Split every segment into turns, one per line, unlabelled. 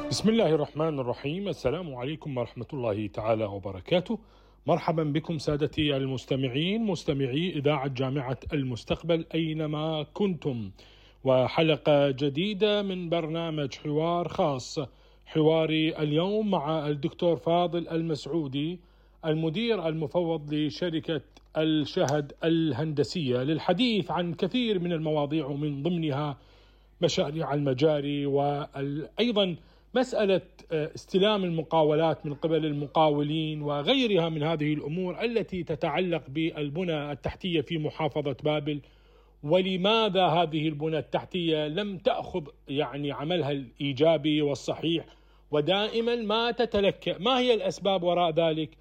بسم الله الرحمن الرحيم. السلام عليكم ورحمة الله تعالى وبركاته. مرحبا بكم سادتي المستمعين، مستمعي إذاعة جامعة المستقبل أينما كنتم، وحلقة جديدة من برنامج حوار خاص. حواري اليوم مع الدكتور فاضل المسعودي، المدير المفوض لشركة الشهد الهندسية، للحديث عن كثير من المواضيع ومن ضمنها مشاريع المجاري، وأيضا مسألة استلام المقاولات من قبل المقاولين وغيرها من هذه الأمور التي تتعلق بالبنى التحتية في محافظة بابل، ولماذا هذه البنى التحتية لم تأخذ عملها الإيجابي والصحيح، ودائما ما تتلكأ. ما هي الأسباب وراء ذلك؟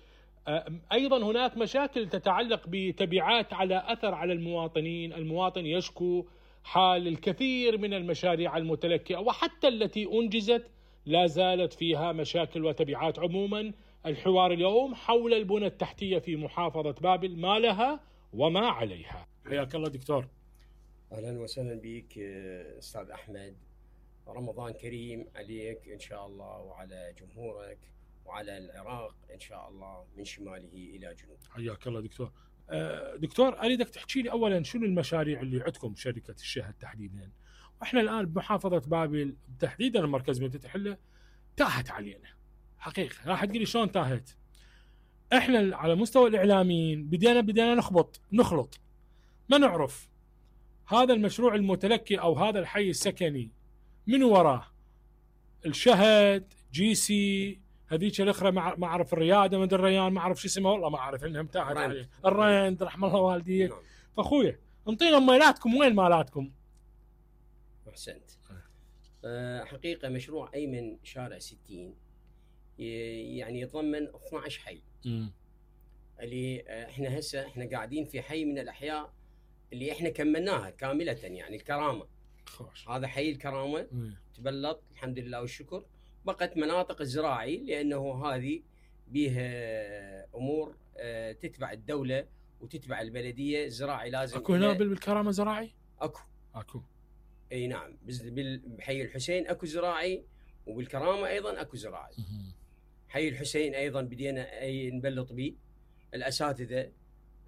أيضا هناك مشاكل تتعلق بتبعات على أثر على المواطنين. المواطن يشكو حال الكثير من المشاريع المتلكئة وحتى التي أنجزت لا زالت فيها مشاكل وتبعات. عموما الحوار اليوم حول البنى التحتية في محافظة بابل، ما لها وما عليها. حياك الله دكتور.
أهلا وسهلا بك أستاذ أحمد، رمضان كريم عليك إن شاء الله وعلى جمهورك وعلى العراق إن شاء الله من شماله إلى جنوبه.
حياك الله دكتور. دكتور أريدك تحكي لي أولا شنو المشاريع اللي عندكم شركة الشهد تحديدا؟ وإحنا الآن بمحافظة بابل تحديدا المركز مدينة الحلة تاهت علينا حقيقة. راح تقولي شلون تاهت؟ إحنا على مستوى الإعلاميين بدينا نخلط، ما نعرف هذا المشروع المتلكي أو هذا الحي السكني من وراه الشهد جي سي هذيك الاخرى ما اعرف الرياده مدري الريان ما اعرف شو اسمها، والله ما اعرف انها متاهت عليه الرند رحم الله والديك. فاخويا انطينا مالاتكم، وين مالاتكم؟
احسنت. حقيقه مشروع ايمن شارع 60 يعني يتضمن 12 حي. اللي احنا قاعدين في حي من الاحياء اللي احنا كملناها كامله، يعني الكرامه. هذا حي الكرامه تبلط الحمد لله والشكر. بقت مناطق الزراعي لأنه هذه بها أمور تتبع الدولة وتتبع البلدية. الزراعي لازم
أكو هنا بالكرامة زراعي؟ أكو
أي نعم، بحي الحسين أكو زراعي، وبالكرامة أيضا أكو زراعي. حي الحسين أيضا بدينا نبلط به الأساتذة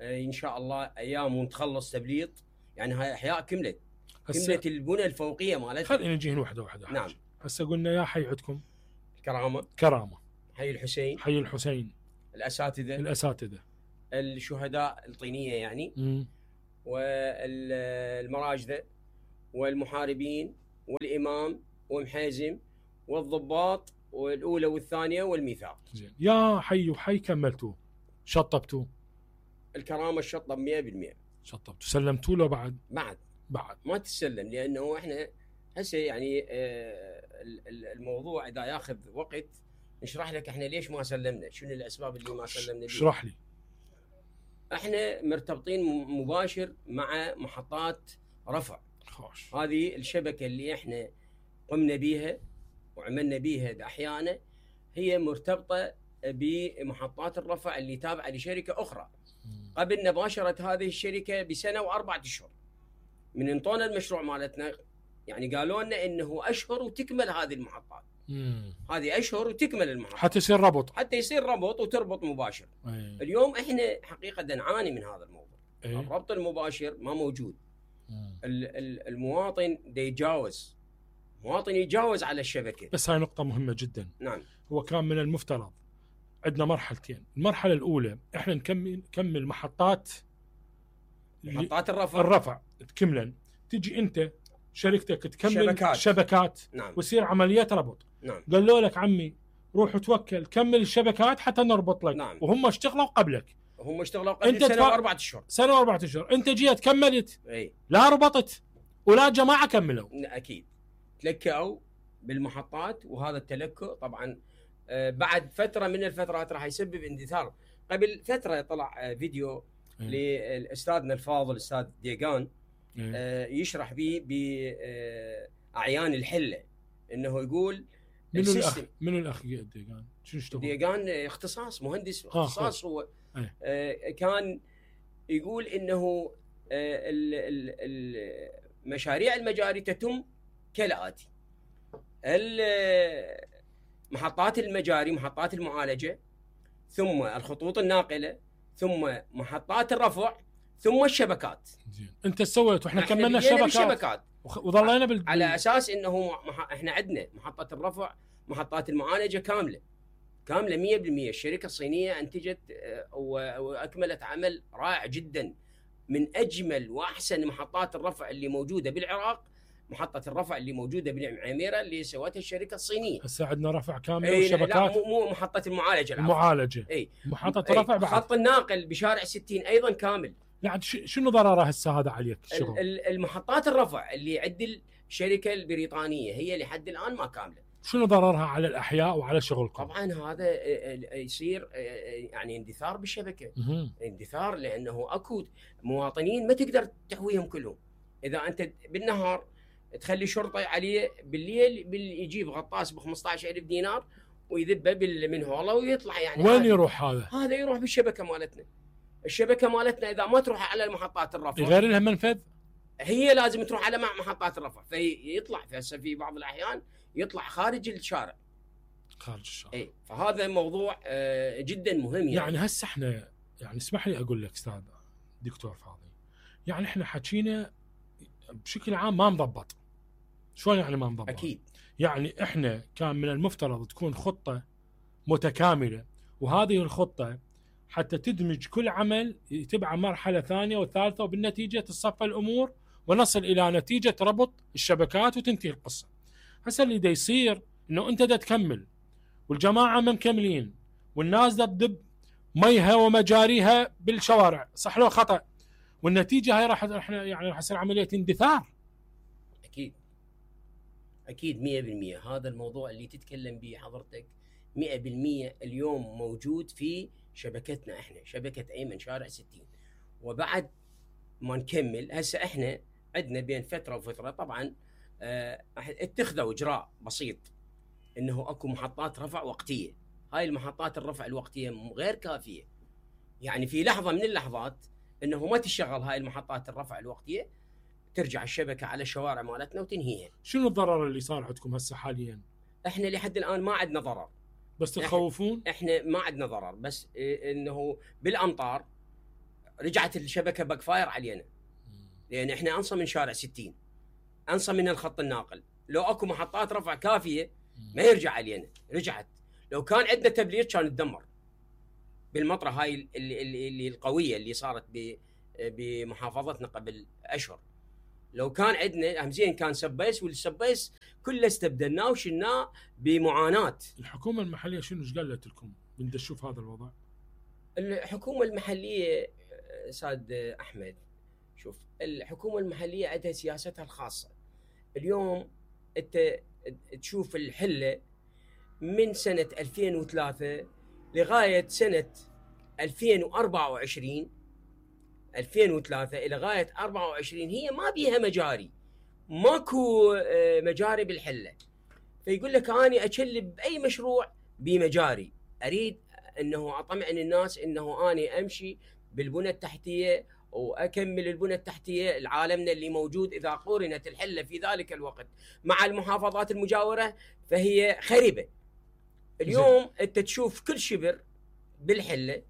إن شاء الله أيام ونتخلص تبليط. يعني هاي أحياء كملت البنى الفوقية مالتها.
خلينا نجي واحدة
نعم.
هسه قلنا يا حي عندكم
كرامة، حي الحسين،
الأساتذة،
الشهداء الطينية يعني والمراجدة والمحاربين والإمام ومحازم والضباط والأولى والثانية والميثاق.
زين. يا حي وحي كملتوه شطبتوه؟
الكرامة الشطب 100%.
شطبتوا سلمتوا له بعد
ما تسلم، لأنه إحنا هسه يعني الموضوع إذا ياخذ وقت نشرح لك إحنا ليش ما سلمنا، شنو الأسباب اللي ما سلمنا.
اشرح لي.
إحنا مرتبطين مباشر مع محطات رفع. هذه الشبكة اللي إحنا قمنا بيها وعملنا بيها بأحيانا هي مرتبطة بمحطات الرفع اللي تابعة لشركة أخرى. قبل مباشرة هذه الشركة بسنة و4 أشهر من انطونا المشروع مالتنا، يعني قالوا لنا انه اشهر وتكمل هذه المحطات. هذه اشهر وتكمل المحطات
حتى يصير ربط
وتربط مباشر. اليوم احنا حقيقه نعاني من هذا الموضوع. الربط المباشر ما موجود. المواطن يتجاوز على الشبكه.
بس هاي نقطه مهمه جدا.
نعم.
هو كان من المفترض عندنا مرحلتين. المرحله الاولى احنا نكمل محطات الرفع تكملا، تجي انت شركتك تكمل شبكات.
نعم.
ويصير عمليات ربط.
نعم.
قالوا لك عمي روح توكل كمل الشبكات حتى نربط لك.
نعم.
وهم اشتغلوا قبلك.
انت
سنة و4 أشهر انت جيت كملت.
اي
لا ربطت ولا جماعه كملوا.
اكيد تلكأوا بالمحطات، وهذا التلكؤ طبعا بعد فتره من الفترات راح يسبب اندثار. قبل فتره طلع فيديو لاستاذنا الفاضل الاستاذ ديغان يشرح به باعيان الحله، انه يقول
منو الاخ ديغان؟ شنو اشتغل؟
ديغان اختصاص مهندس اختصاص. هو كان يقول انه مشاريع المجاري تتم كالآتي: محطات المجاري، محطات المعالجه، ثم الخطوط الناقله، ثم محطات الرفع، ثم الشبكات.
زين انت سويت واحنا
إحنا
كملنا
بدينا
الشبكات
بالشبكات
وظلينا
على اساس انه احنا عندنا محطه الرفع، محطات المعالجه كامله 100%. الشركه الصينيه انتجت واكملت عمل رائع جدا، من اجمل واحسن محطات الرفع اللي موجوده بالعراق. محطه الرفع اللي موجوده بالعميره اللي سوتها الشركه الصينيه.
هسه عندنا رفع كامل
لا
وشبكات.
مو محطه المعالجه.
المعالجه محطه الرفع بعد.
خط الناقل بشارع 60 ايضا كامل.
يعني شنو ضرره هسه هذا عليك الشغل؟
المحطات الرفع اللي عند الشركه البريطانيه هي لحد الان ما كامله.
شنو ضررها على الاحياء وعلى شغلكم؟
طبعا هذا يصير يعني اندثار بالشبكه. اندثار لانه اكو مواطنين ما تقدر تحويهم كلهم. اذا انت بالنهار تخلي شرطه عليه، بالليل يجيب غطاس ب 15,000 دينار ويذبه بالمنهوله ويطلع. يعني
وين يروح هذا؟
هذا يروح بالشبكه مالتنا. الشبكه مالتنا اذا ما تروح على محطات الرفع
غير لها منفذ،
هي لازم تروح على محطات الرفع، فيطلع في بعض الاحيان يطلع خارج الشارع.
خارج الشارع.
اي فهذا موضوع جدا مهم.
يعني هسه احنا يعني اسمح لي اقول لك استاذ دكتور فاضل، يعني احنا حكينا بشكل عام ما مضبط. شلون يعني ما مضبط؟
اكيد.
يعني احنا كان من المفترض تكون خطه متكامله، وهذه الخطه حتى تدمج كل عمل يتبع مرحله ثانيه وثالثه، وبالنتيجه تصفى الامور ونصل الى نتيجه ربط الشبكات وتنتهي القصه. هسه اللي دا يصير انه انت دا تكمل والجماعه ما مكملين، والناس دا تدب ميها ومجاريها بالشوارع، صح لو خطا؟ والنتيجه هاي راح يصير عمليه اندثار.
اكيد 100%. هذا الموضوع اللي تتكلم به حضرتك 100% اليوم موجود في شبكتنا احنا، شبكه ايمن شارع 60. وبعد ما نكمل هسه احنا عندنا بين فتره وفتره طبعا اتخذوا اجراء بسيط انه اكو محطات رفع وقتيه. هاي المحطات الرفع الوقتيه غير كافيه. يعني في لحظه من اللحظات انه ما تشتغل هاي المحطات الرفع الوقتيه، ترجع الشبكه على الشوارع مالتنا وتنهيها.
شنو الضرر اللي صار عندكم هسه حاليا؟
احنا لحد الان ما عندنا ضرر،
بس تخوفون؟
احنا ما عندنا ضرر، بس انه بالامطار رجعت الشبكه باك فاير علينا. لان احنا انصى من شارع 60، انصى من الخط الناقل. لو اكو محطات رفع كافيه ما يرجع علينا. رجعت. لو كان عندنا تبليط كان تدمر بالمطره هاي اللي القويه اللي صارت بمحافظتنا قبل اشهر. لو كان عندنا همزين كان سبيس، والسبيس كله استبدلناه وشلناه بمعاناه.
الحكومه المحليه شنو ايش قالت لكم من تشوف هذا الوضع؟
الحكومه المحليه استاذ احمد، شوف الحكومه المحليه عندها سياستها الخاصه. اليوم انت تشوف الحله من سنه 2003 لغايه سنه 2024 الى غايه 24 هي ما بيها مجاري، ماكو مجاري بالحله. فيقول لك اني اكلب باي مشروع بمجاري، اريد انه اطمئن الناس انه اني امشي بالبنى التحتيه واكمل البنى التحتيه لعالمنا اللي موجود. اذا قورنت الحله في ذلك الوقت مع المحافظات المجاوره فهي خربه. اليوم انت تشوف كل شبر بالحله،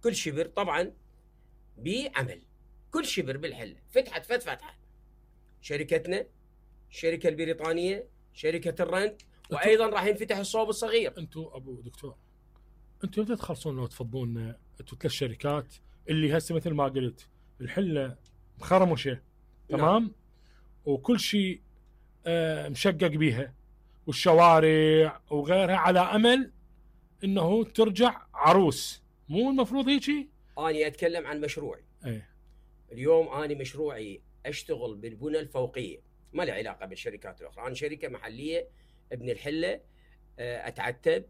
كل شبر طبعا بعمل، كل شبر بالحله فتحت فتحه شركتنا، الشركه البريطانيه، شركه الرند، وايضا راح ينفتح الصوب الصغير.
انتم ابو دكتور، انتم متى تخلصون وتفضون انتم 3 شركات اللي هسه مثل ما قلت الحله مخرمشه تمام، وكل شيء مشقق بيها والشوارع وغيرها، على امل انه ترجع عروس. مو المفروض هيجي؟
اني اتكلم عن مشروعي. اليوم اني مشروعي اشتغل بالبنى الفوقيه، ما له علاقه بالشركات الاخرى. انا شركه محليه ابن الحله، اتعتب،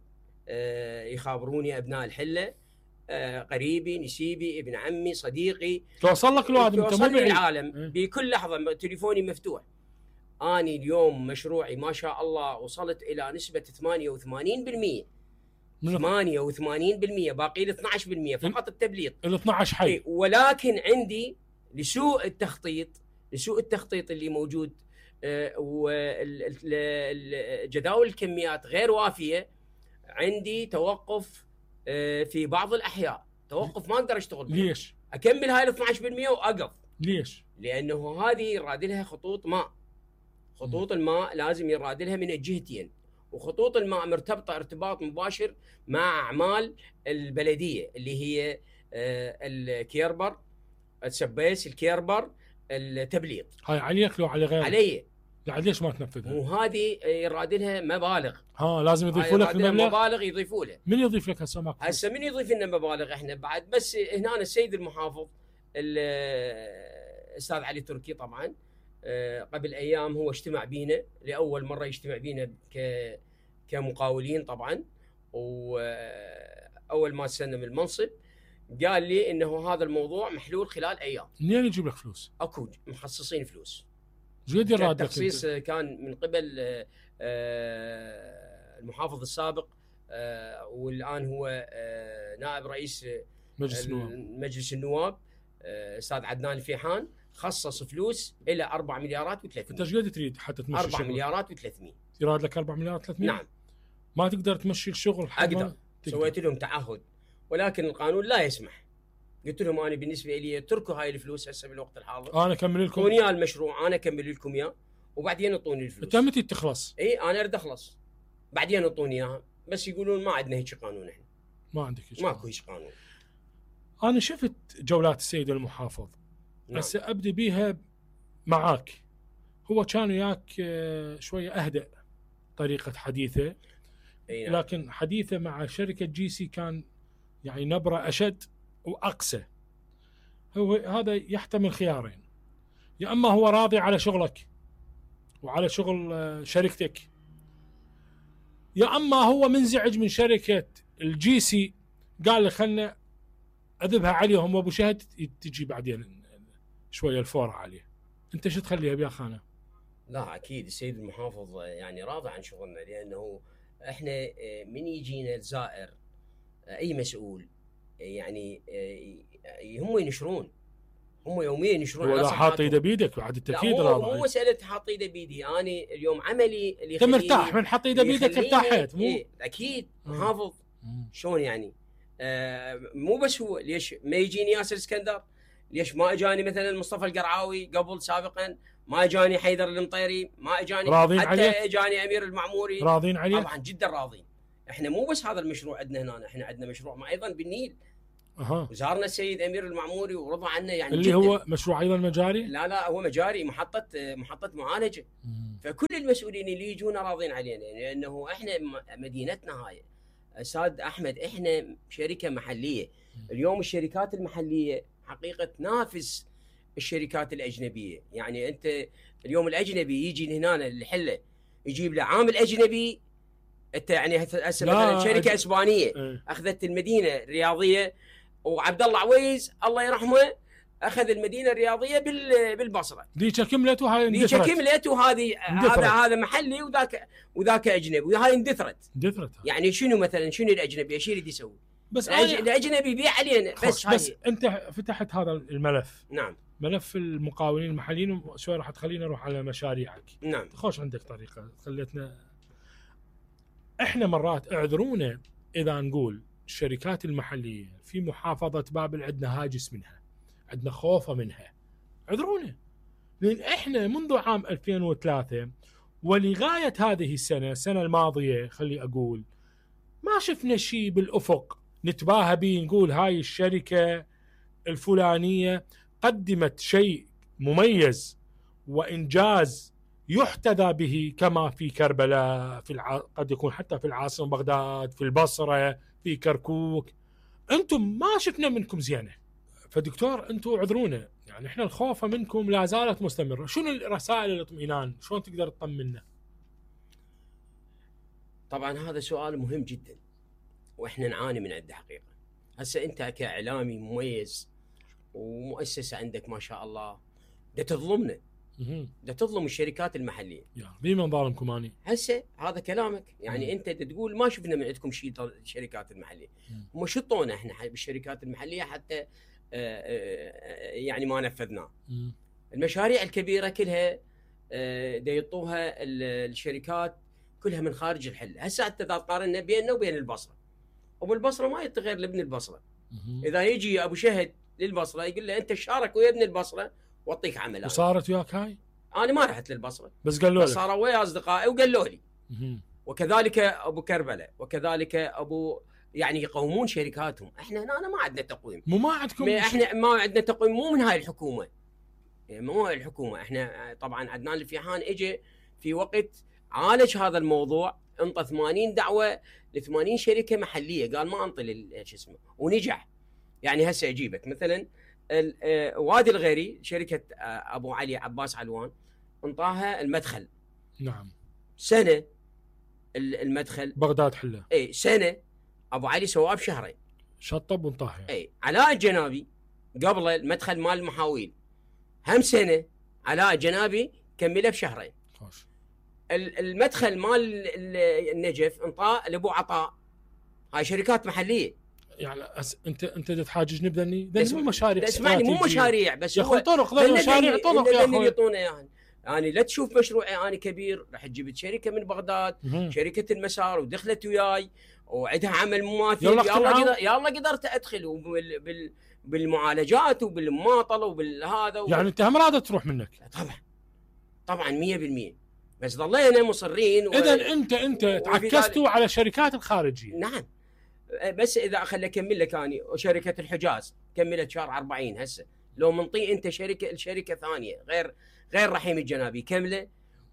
يخابروني ابناء الحله، قريبي، نسيبي، ابن عمي، صديقي،
توصل لك الوعد. انت مو
بالعالم بكل لحظه تليفوني مفتوح. اني اليوم مشروعي ما شاء الله وصلت الى نسبه 88%. 88%، باقي لي 12% فقط التبليط.
ال 12 حي.
ولكن عندي لسوء التخطيط اللي موجود وجداول الكميات غير وافيه، عندي توقف في بعض الاحياء، توقف ما اقدر اشتغل بيه.
ليش؟
اكمل هاي ال 12% واقف.
ليش؟
لانه هذه يراد لها خطوط ماء. خطوط الماء لازم يراد لها من الجهتين، وخطوط الماء مرتبطه ارتباط مباشر مع اعمال البلديه اللي هي الكيربر، السبيس، الكيربر، التبليط.
هاي عليك لو على غيرك؟
علي.
يعني ليش ما تنفذها؟
وهذه يراد لها مبالغ.
لازم يضيفوا لك المبلغ.
مبالغ يضيفوا له.
من يضيف لك هسه؟ ماكو
هسه من يضيف لنا مبالغ؟ احنا بعد بس هنا السيد المحافظ الاستاذ علي تركي طبعا قبل ايام هو اجتمع بينا لاول مره، يجتمع بينا كمقاولين طبعا، واول ما استلم المنصب قال لي انه هذا الموضوع محلول خلال ايام.
منين يجيب لك فلوس؟
اكو مخصصين فلوس.
زيد يراد لك
التخصيص كان من قبل المحافظ السابق والان هو نائب رئيس مجلس النواب استاذ عدنان الفيحان، خصص فلوس الى 4 مليارات و300.
انت ايش قد تريد حتى تمشي
4 مليارات و300.
يراد لك 4 مليارات و300؟
نعم.
ما تقدر تمشي الشغل؟
اقدر. سويت لهم تعهد ولكن القانون لا يسمح. قلت لهم انا بالنسبه لي اتركوا هاي الفلوس هسه بالوقت الحاضر،
انا اكمل لكم
اعطوني المشروع، انا اكمل لكم اياه وبعدين اعطوني الفلوس.
انت متى تخلص؟
اي انا اريد اخلص بعدين اعطوني اياها، بس يقولون ما عندنا هيك قانون. احنا
ما عندك هيك،
ماكو هيك قانون.
انا شفت جولات السيد المحافظ. هسه نعم. ابدي بيها معاك. هو كان وياك شويه اهدأ طريقه حديثه،
نعم.
لكن حديثه مع شركه جي سي كان يعني نبره اشد واقسى. هو هذا يحتمل خيارين: يا اما هو راضي على شغلك وعلى شغل شركتك، يا اما هو منزعج من شركه الجي سي، قال لي خلنا اذبها عليهم وابو شهد تجي بعدين شويه الفور عليه. انت شو تخليها بيا خانه؟
لا اكيد السيد المحافظ يعني راضي عن شغلنا، لانه احنا من يجينا الزائر اي مسؤول يعني هم ينشرون، هم يوميا ينشرون
على حاط ايده بيدك بعد التاكيد.
راضي. مو مساله حاط ايده بيدي، انا اليوم عملي اللي
انت مرتاح من حط ايده بيدك ارتاحت. مو
اكيد محافظ شلون يعني مو بس هو. ليش ما يجيني ياسر اسكندر؟ ليش ما اجاني مثلا مصطفى القرعاوي قبل سابقا؟ ما اجاني حيدر المطيري؟ ما اجاني
راضين
حتى
عليك؟
اجاني امير المعموري.
راضين عليك؟
طبعا جدا راضين. احنا مو بس هذا المشروع عندنا هنا، احنا عندنا مشروع ما ايضا بالنيل. وزارنا السيد امير المعموري ورضى عنه يعني
اللي
جداً.
هو مشروع ايضا مجاري؟
لا هو مجاري، محطه معالجه. فكل المسؤولين اللي يجونا راضين علينا، لانه احنا مدينتنا هاي استاذ احمد، احنا شركه محليه. اليوم الشركات المحليه حقيقه تنافس الشركات الاجنبيه. يعني انت اليوم الاجنبي يجي هنا الحله يجيب له عامل اجنبي. انت يعني هسه مثلا شركه اسبانيه اخذت المدينه الرياضيه، وعبد الله عويز الله يرحمه اخذ المدينه الرياضيه بالبصره.
ديك كملت وهاي اندثرت.
ديك كملت وهذه هذا محلي وذاك اجنبي وهاي اندثرت. يعني شنو مثلا شنو الاجنبي ايش يريد يسوي؟
بس
الاجنبي يبيع علينا
بس انت فتحت هذا الملف.
نعم.
ملف المقاولين المحليين، شوي راح تخلينا نروح على مشاريعك.
نعم.
خوش عندك طريقه خليتنا احنا مرات اعذرونا اذا نقول الشركات المحليه في محافظه بابل عندنا هاجس منها، عندنا خوفه منها. اعذرونا، لان احنا منذ عام 2003 ولغايه هذه السنه الماضيه خلي اقول ما شفنا شيء بالافق نتباهى به نقول هاي الشركه الفلانيه قدمت شيء مميز وانجاز يحتذى به، كما في كربلاء، قد يكون حتى في العاصمه بغداد، في البصره، في كركوك. انتم ما شفنا منكم زينه. فدكتور انتم اعذرونا، يعني احنا الخوف منكم لا زالت مستمره. شنو رسائل الاطمئنان؟ شلون تقدر تطمنا؟
طبعا هذا سؤال مهم جدا واحنا نعاني من عنده حقيقه. هسه انت كاعلامي مميز ومؤسسه عندك ما شاء الله، ده تظلمنا، ده تظلم الشركات المحليه.
بمن ظالمكم اني؟
هسه هذا كلامك يعني انت تقول ما شفنا من عندكم شيء الشركات المحليه. هم شطونا احنا بالشركات المحليه حتى يعني ما نفذناه. المشاريع الكبيره كلها دا يعطوها الشركات كلها من خارج الحل. هسه حتى اذا قارنا بيننا وبين البصره، ابو البصره ما يعطي غير لابن البصره. اذا يجي ابو شهد للبصره يقول له انت شارك ويا ابن البصره واعطيك عمل.
وصارت وياك هاي؟
انا ما رحت للبصره
بس قالوا لك،
صاروا ويا اصدقائي وقالوا لي. وكذلك ابو كربلاء، وكذلك ابو يعني يقومون شركاتهم. احنا هنا ما عندنا تقويم.
ما عندكم؟
احنا ما عندنا تقويم، مو من هاي الحكومه، مو هاي الحكومه. احنا طبعا عدنان الفيحان اجى في وقت عالج هذا الموضوع، انطى 80 دعوه ل 80 شركه محليه، قال ما انطي شو اسمه، ونجح. يعني هسه اجيبك مثلا وادي الغيري، شركه ابو علي عباس علوان انطاها المدخل.
نعم.
سنه المدخل
بغداد حله.
اي سنه. ابو علي سواه بشهرين،
شطب وانطاها.
اي علاء الجنابي قبل المدخل مال المحاويل هم سنه، علاء الجنابي كمله بشهرين.
خوش.
المدخل مال النجف انطاه لابو عطاء. هاي شركات محليه.
يعني انت تحاججني بدني مو مشاريع.
اسمعني، مو مشاريع بس
يا اخوي طرق، ذا مشاريع طرق يا اخوي.
يعطونا يعني. يعني لا تشوف مشروعي انا كبير، راح جبت شركه من بغداد، شركه المسار، ودخلت وياي وعندها عمل مماثل. يلا قدرت ادخل بالمعالجات وبالمماطله وبالهذا
يعني انت هم راضي تروح منك؟
طبعا 100%. بس ظلينا مصرين.
اذا انت تعكستوا على الشركات الخارجيه.
نعم. بس اذا خلي اكمل لك اني، وشركه الحجاز كملت شهر 40 هسه. لو منطي انت شركه ثانيه غير رحيم الجنابي كمله.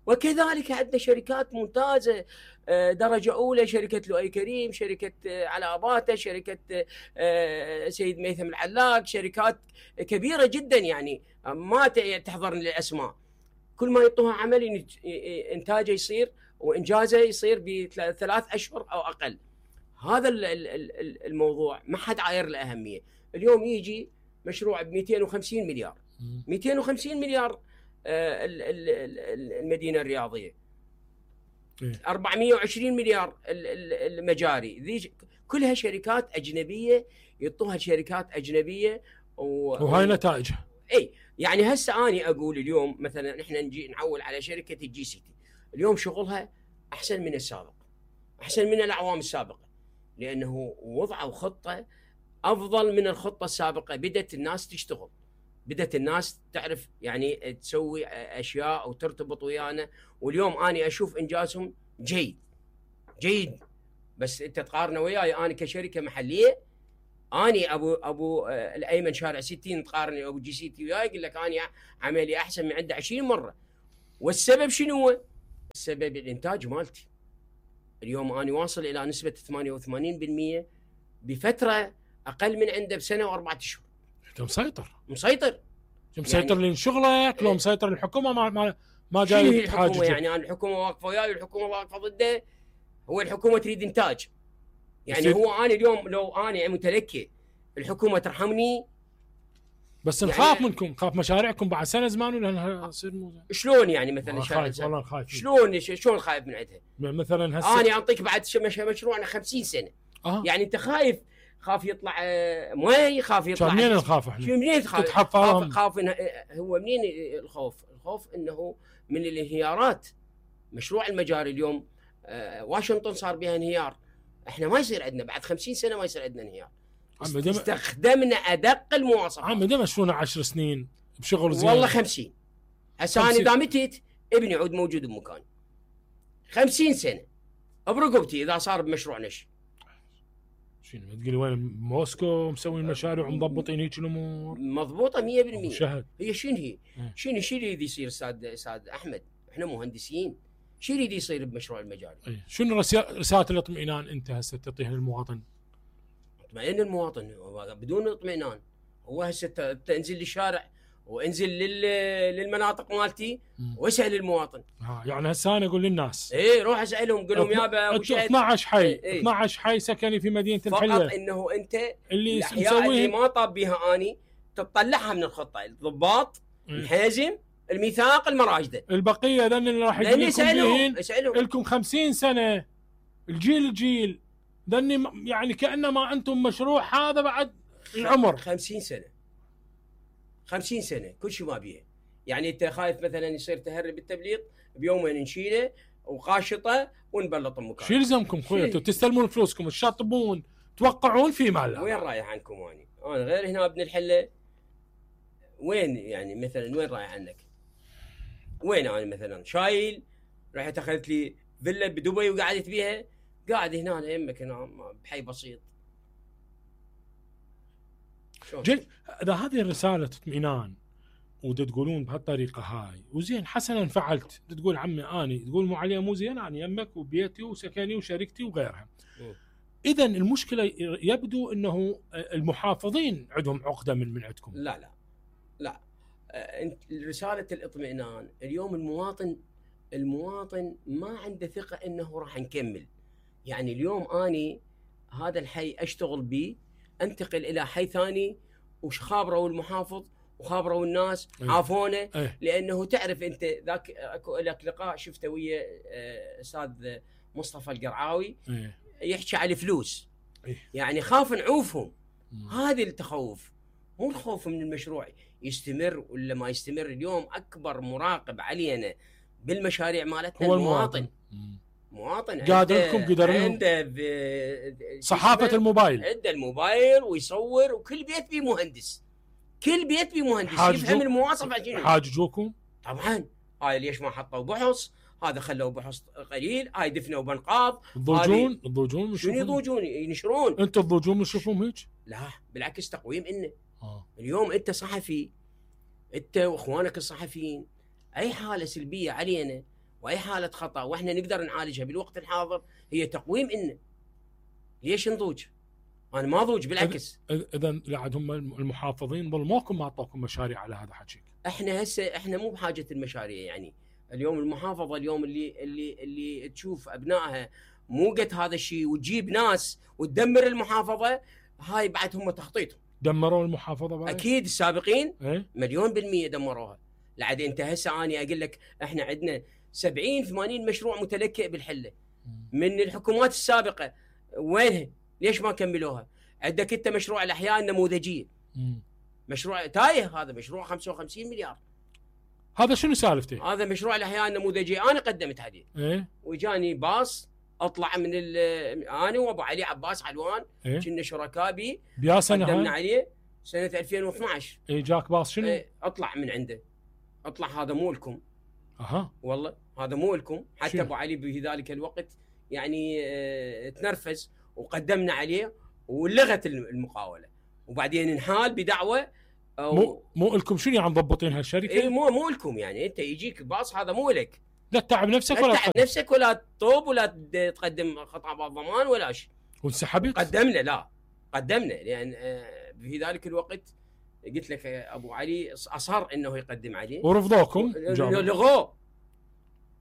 وكذلك عندنا شركات ممتازه درجه اولى، شركه لؤي كريم، شركه علاء باته، شركه سيد ميثم العلاق، شركات كبيره جدا يعني ما تحضرني الاسماء. كل ما يعطوها عمل انتاجه يصير وانجازه يصير ب3 أشهر او اقل. هذا الموضوع ما حد عاير له اهميه. اليوم يجي مشروع ب 250 مليار، 250 مليار المدينه الرياضيه، 420 مليار المجاري. ذي كلها شركات اجنبيه يعطوها شركات اجنبيه
وهاي نتائجها.
اي يعني هسه اني اقول اليوم مثلا احنا نجي نعول على شركه الجي سي تي، اليوم شغلها احسن من السابق، احسن من الاعوام السابقه، لانه وضعوا خطه افضل من الخطه السابقه. بدت الناس تشتغل، بدت الناس تعرف يعني تسوي اشياء وترتبط ويانا. واليوم اني اشوف انجازهم جيد. بس انت تقارنه وياي انا كشركه محليه، اني ابو الايمن شارع 60 تقارني ابو جي سي تي وياي، يقول لك اني عملي احسن من عنده 20 مره. والسبب شنو هو؟ السبب الانتاج مالتي. اليوم اني واصل الى نسبه 88% بفتره اقل من عنده بسنه و4 اشهر.
انت مسيطر
يعني
لين شغلك. لو مسيطر الحكومه ما جاي تحاجج.
يعني انا الحكومه واقفه وياي والحكومه واقفه ضده. هو الحكومه تريد انتاج. يعني هو انا اليوم لو انا متلكي الحكومه ترحمني.
بس نخاف يعني منكم، نخاف مشاريعكم بعد سنه زمان ولا يصير مو زين.
شلون يعني مثلا
خايف؟ والله خايف.
شلون خايف من عندها؟
مثلا هسه
انا اعطيك بعد مشروعنا 50 سنه. يعني انت خاف يطلع مي، خاف يطلع.
منين نخاف احنا؟
منين تخاف؟ خاف هو منين الخوف؟ الخوف انه من الانهيارات. مشروع المجاري اليوم واشنطن صار بها انهيار، احنا ما يصير عندنا بعد 50 سنه ما يصير عندنا انهيار. استخدمنا ادق المواصفات.
عم مشروعنا 10 سنين بشغل زين.
والله 50. هسه انا اذا متيت ابني عود موجود بمكان 50 سنه برقبتي اذا صار بمشروعنا شيء.
شنو تقول وين موسكو مسوين مشاريع ومضبطين هيك الامور؟
مضبوطه 100%.
شهد.
هي شنو اللي يصير استاذ احمد؟ احنا مهندسين. شو اللي يصير بمشروع المجاري؟
شنو رساله الاطمئنان انت هسه تعطيها للمواطن؟
اطمئن المواطن. بدون اطمئنان هو هسه تنزل للشارع وانزل للمناطق مالتي واسال المواطن.
يعني هسه انا اقول للناس
روح اسالهم قول لهم يابا ابو شهد
12 حي 12 حي سكني في مدينه الحله.
فقط انه انت
اللي
مسويه ما طاب بها اني تطلعها من الخطه. الضباط الحازم الميثاق المراجده
البقيه ذن اللي راح يجي لكم 50 سنه الجيل ذني يعني كانما انتم مشروع هذا بعد العمر
50 سنه كل شيء ما بيه. يعني انت خايف مثلا يصير تهرب بالتبليط بيومين نشيله وقاشطه ونبلط مكان.
شو يلزمكم خويا؟ انتم تستلمون فلوسكم تشطبون توقعون في مال.
وين رايح عنكم انا غير هنا ابن الحله. وين يعني مثلا وين رايح عنك؟ وين انا مثلا شايل رحت اخذت لي فيلا بدبي وقعدت بيها، قاعد هنا يمك هنا بحي بسيط.
اذا هذه الرساله اطمئنان وتقولون بهالطريقه هاي وزين حسنا فعلت، تقول عمي اني تقول مو عليها مو زين، انا يمك وبيتي وسكني وشركتي وغيرها. اذا المشكله يبدو انه المحافظين عندهم عقده من عندكم.
لا انت رساله الاطمئنان اليوم المواطن ما عنده ثقه انه راح نكمل. يعني اليوم اني هذا الحي اشتغل به، انتقل الى حي ثاني وخابروا المحافظ وخابروا الناس عافونه. لانه تعرف انت ذاك اكو لك لقاء شفته ويا استاذ مصطفى القرعاوي يحكي على الفلوس. يعني خاف نعوفهم. هذه التخوف، مو الخوف من المشروع يستمر ولا ما يستمر. اليوم اكبر مراقب علينا بالمشاريع مالتنا
هو
المواطن.
قادر لكم
عنده
صحافه الموبايل،
عنده الموبايل ويصور، وكل بيت بيه مهندس، كل بيت بيه مهندس يفهم المواصفه شنو.
حاججوكم
طبعا. هاي ليش ما حطوا بحص؟ هذا خلوا بحص قليل، هاي دفنوا بنقاض.
الضوجون
شنو يضوجون؟ ينشرون.
انتم الضوجون تشوفون هيك؟
لا بالعكس، تقويم إنه اليوم انت صحفي، انت واخوانك الصحفيين، اي حاله سلبيه علينا واي حاله خطا واحنا نقدر نعالجها بالوقت الحاضر هي تقويم إنه. ليش نضوج؟ انا ما اضوج بالعكس.
اذا لا هم المحافظين ظلموكم ما اعطوكم مشاريع على هذا حكيك.
احنا مو بحاجه المشاريع. يعني اليوم المحافظه اليوم اللي تشوف ابنائها مو قد هذا الشيء وتجيب ناس وتدمر المحافظه، هاي بعد هم تخطيطهم.
دمروا المحافظه بعد؟
اكيد السابقين 1,000,000% دمروها. لعد انت هسه اني اقول لك احنا عندنا 70-80 مشروع متلكئ بالحله من الحكومات السابقه. وينها؟ ليش ما كملوها؟ عندك انت مشروع الاحياء النموذجيه، مشروع تايه، هذا مشروع 55 مليار.
هذا شنو سالفته؟
هذا مشروع الاحياء النموذجيه انا قدمت عليه. وجاني باص اطلع من انا وابو علي عباس علوان كنا شركاء بي.
بيا سنه
قدمنا عليه سنه 2012.
جاك باص شنو؟
اطلع من عنده، اطلع هذا مو لكم. والله هذا مو لكم. حتى ابو علي في ذلك الوقت يعني تنرفز وقدمنا عليه ولغت المقاوله، وبعدين انحال بدعوه
مو لكم. شنو يعني مضبطين هالشركه؟
اي مو لكم. يعني انت يجيك باص هذا مو لك،
لا تتعب نفسك
ولا تتعب نفسك ولا تطوب ولا تقدم خطابات ضمان ولا شيء.
وانسحبت؟
قدمنا لان في ذلك الوقت قلت لك ابو علي اصر انه يقدم عليه
ورفضوكم.